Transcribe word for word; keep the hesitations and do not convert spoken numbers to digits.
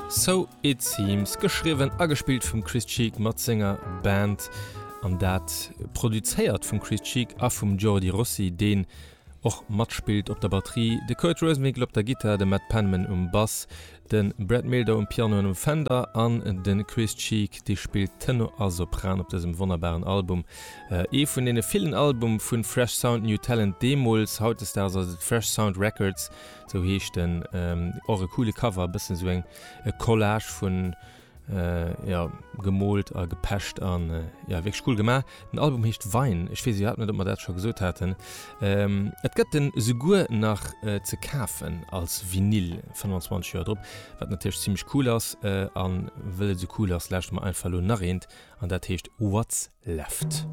So It Seems, geschriwwen a gespillt vum Chris Cheek mat senger Band an dat produzéiert vum Chris Cheek a vum Jordi Rossi, deen och matspillt op der Batterie, de Kurt Rosenwinkel op der Gittar, de Matt Penman um Bass, de Brad Mehldau um Piano an um Fender an de Chris Cheek, dee spillt Tenor a Sopran op dësem wonnerbaren Album. Ee vun deene villen Albume vu Fresh Sound New Talent deemools, hautdesdaags ass et Fresh Sound Records, sou heescht en. Och e coole Cover, e bëssen sou eng Collage vun jo, gemoolt a gepecht an jo, wierklech cool gemaach. Den Album heescht Vine, ech weess iwwerhaapt net, ob mer dat scho gesot haten. Et gëtt en esouguer nach ze kafen als Vinyl, fënnwanzwanzeg Joer drop, wat natierlech zimmlech cool ass. A wëll et esou cool ass, lauschteren mer einfach elo nach eent an dat heescht What's Left.